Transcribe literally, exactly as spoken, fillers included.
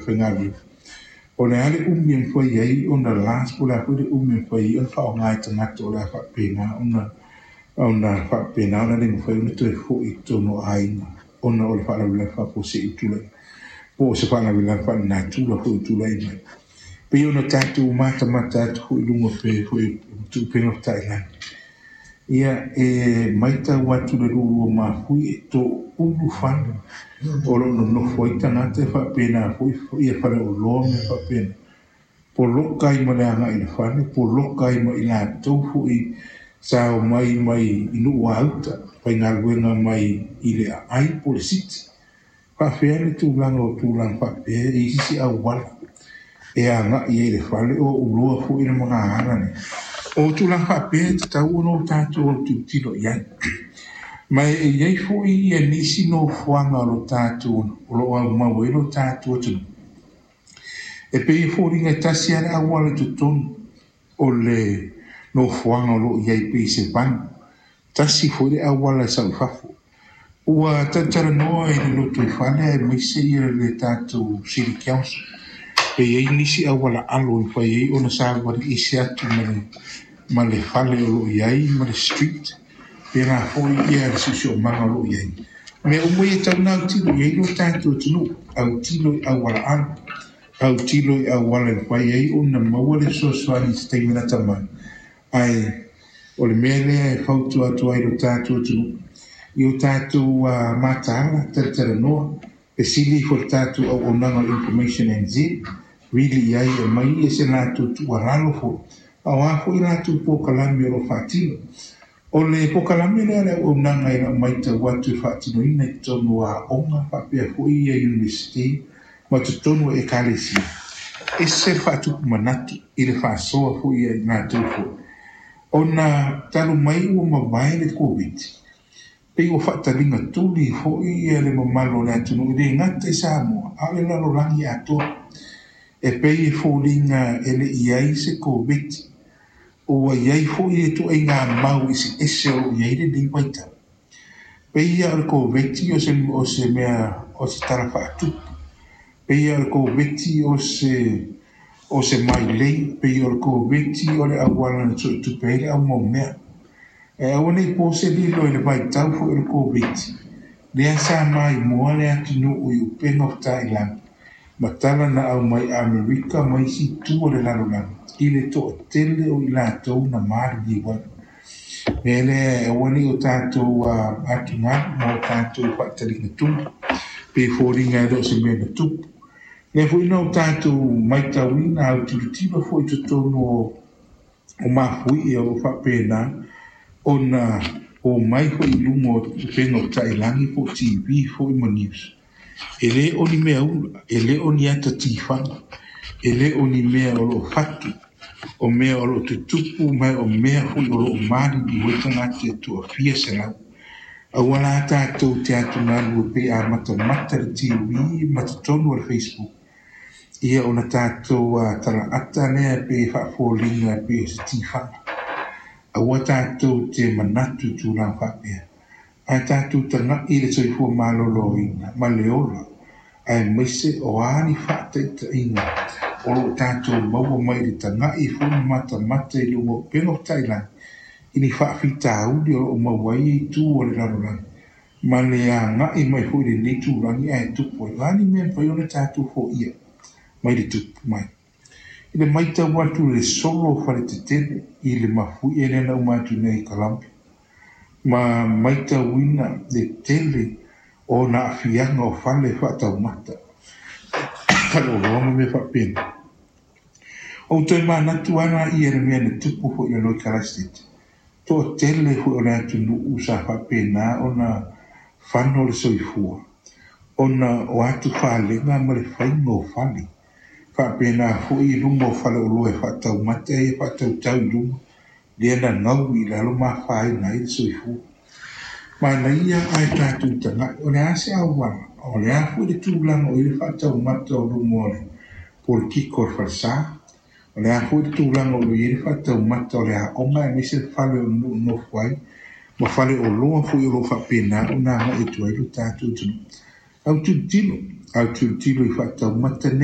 Faigaluega o le a le umi e mafai ai ona last, po o le a foi le umi e mafai ai ona faaaoga e tagata o le a faapena ona ona faapena ona le mafai ona toe fo'i i totonu o aiga ona o le faalavelave faafuasei ua tulai, po o se faalavelave faalenatura foi ua tulai mai. Pei ona tatou matamata atu foi i luga pe foi upega tafailagi, ia e matau atu le lualua mafui e toulu fale o lo o nonofo ai tagata e faapena foi ia faleoloa ma faapena poloka ai ma le agai i le fale, poloka ai ma i latou foi sa omai mai i nuu auta faigaluega mai i le aai po o le siti. Faafefea le tulaga o tulaga faapea e i isi auala e agai ai i le fale o uloa foi le magaala lea? O tulaga faapea e tatau ona o tatou autilotilo i ai. Ma e i ai foi ia nisi nofoaga o lo tatou o lo o aumau ai lo tatou atunuu e pei e foliga e tasi lava le auala i totonu o le nofoaga o lo o i ai, pei se vanu, tasi foi le auala e sau i fafo. Ua talatalanoa i le lotoifale aemaise ia le tatou City Council pe i ai nisi auala alo e mafai ai ona savali ese atu ma le ma le fale o lo o i ai ma le street, pēlā foi ia le siosiomaga o lo o i ai. Mea uma ia e tatau ona autilo i ai lo tatou atunuu, autilo i auala alo, autilo i auala e mafai ai ona maua le fesoasoani i se taimi lata mai. Ae o le mea lea e fautua atu ai lo tatou atunuu i o tatou uh, mataala, talatalanoa, fesili ifo le tatou auaunaga o Information N Z, vili i ai e mai ia se latou tuualalo foi, a o a foi latou polokalame o lo o faatino. O le polokalame lea le auaunaga e lau matau atu e faatinoina i totonu o aoga faapea foi ia Iunivesite ma totonu o ekalesia, ese le faatupu manatu i le faasoa foi ia i latou foi. Ona talu mai ua mavae le Koviti, pei ua faataliga tuli foi ia le mamalu o le atunuu e le gata i Samoa a o le lalolagi atoa. E pei e foliga e le i ai se Koviti, ua i ai foi le ituaiga mau eseese o lo o i ai lenei vaitau. Pei ia o le Koviti o se, o se mea o se tala faatupu, pei ia o le Koviti o se o se mailei, pei o le Koviti o le auala na suetupe ai le aumaumea. E aua nei po se lilo i le vaitau foi o le Koviti lea sa maimoa le atunuu i upega o tafailagi ma tala na aumai Amerika ma isi itu o le lalolagi i le toatele o i latou na maliliu ai. Mea lea e aua nei o tatou atugalu ma o tatou faataliga tuli pe foliga e le o se mea na tupu. Lea foi na o tatou matauina autilotilo foi i totonu o o mafuie o lo o faapena ona omai foi i luga o upega o tafailagi po o T V foi ma news. E le o ni mea ula, e le o ni ata tifaga, e le o ni mea o lo o fatu, o mea o lo o tutupu ma o mea foi o lo o maliliu ai tagata e toafia selau. Aua la tatou te atugalu e pei a matamata le T V ma totonu o le Facebook, ia ona tatou uh, talaata lea pe faafoliga pe o se tifaga. Aua tatou te manatu i tulaga faapea. Ae tatou tagai i le soifua maloloina ma le ola, aemaise o a ni faataitaiga o lo o tatou maua mai i le tagai foi ma matamata i luga o upega o tafailagi i ni faafitauli o lo o maua ai itu o le lalolagi ma le agai mai foi i lenei tulagi ae tupu ai. O a ni mea e mafai ona tatou foia mai le tupu mai. I le matau atu i le solo o faletetele i le mafuie lea na uma atu nei i Colombia, ma matauina le tele o ona aafiaga o fale faataumata, faleoloa ma mea faapena. Ou toe manatu lava ia le mea na tupu foi i lalo i Kalaisete. Toatele foi o le atunuu sa faapena ona fano le soifua ona o atu falega ma le faiga o fale. Faapena foi i luga o faleoloa e faataumata ia faatautau i luga, lea na gau i lalo ma afaina ai le soifua. Manaia ae tatou tagai, o le a se auala, o le a foi le tulaga o i le faataumata o luga o le polokiko o le falesa, o le a foi le tulaga o i ai le faataumata o le aoga aemaise le fale o nuu nofo ai, ma faleoloa foi o lo o faapena ona agai atu ai lo tatou atunuu. Autilotilo, Autilotilo i faataumata nei.